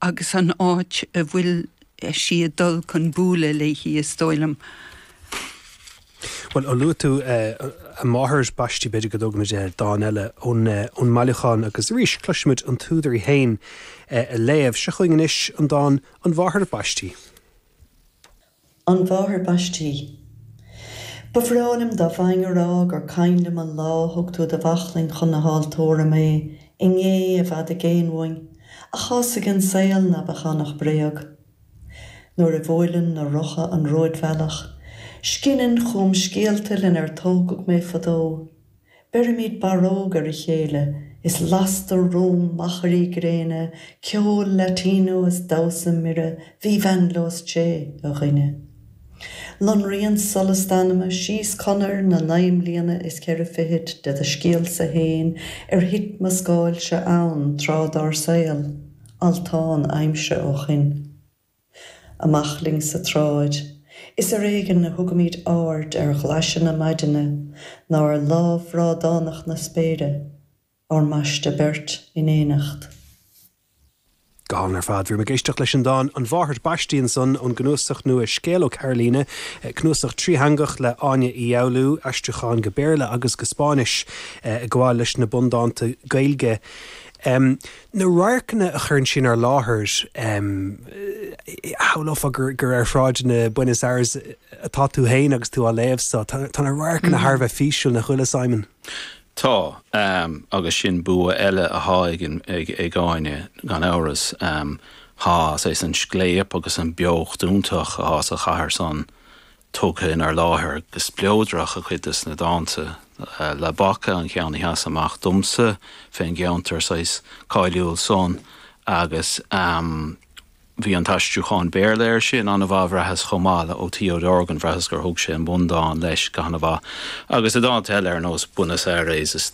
agus an áit a bhfuil sí ag dul chun bualadh léi, is dóigh liom. Bhuel, ó luaigh tú a máthair baistí, b'fhéidir go dtógfaimid dán eile ón mbailiúchán agus arís cloisfimid an t-údar í féin ag léamh. Seo chugainn anois an dán 'An Mháthair Baistí'. An Mháthair Baistí. Ba bhreá liom dá bhfaighinn a rá gur cuimhin liom an lá a thug tú de bhaclainn chun na haltóra mé, inné i bhfad i gcéin uainn, ach tá's ag an saol ná beadh ann ach bréag. Nuair a bhuaileann na rotha an ródbhealach, scinneann chugam scéalta lenar tógadh mé fadó. Beirimid barróg ar a chéile is lastar romham machairí gréine, ceol Latino is damhsa mire, vivan los Che, a dhuine. Lonraíonn solas d'anama síos conair na naoi mbliana is cheithre fichid de do scéalsa fhéin ar thit mo scáilse ann tráth dár saol, altán aimsire ó shoin. Amach linn sa tsráid. Is ar éigean a thugaimid aird ar ghlaise na maidine ná ar lámh bhrádánach na spéire, ár mbaisteadh beirt in éineacht. Go hálainn ar fad. Bhí muid ag éisteacht leis an dán 'An Mháthair Baistí' ansan ón gcnuasach nua Scéal ó Carolina, cnuasach trítheangach le Áine Uí Fhoghlú, aistriúcháin go Béarla agus go Spáinnis ag gabháil leis na bundánta Gaeilge. Na radharcanna a chuireann sí inár láthair, shamhlófá gur ar shráideanna Buenos Aires atá tú féin agus tú á léamh so. Tá na radharcanna thar a bheith físiúil, nach bhfuil, a Simon? Tá, agus sin bua eile athá ag Áine, gan amhras. Tá, saghas, an scléip agus an beocht iontach athá sa chathair san tugtha inár láthair go spleodrach i gcuid de na dánta. La Boca an ceann a sheas amach domsa fén gceantar saghas cáiliúil san agus bhí an t-aistriúchán Béarla air sin an-mhaith bhraitheas chomh maith le ó Theo Dorgan, bhraitheas gur thug sé an bundán leis go han-mhaith. Agus i dánta eile ar nós Buenos Aires is.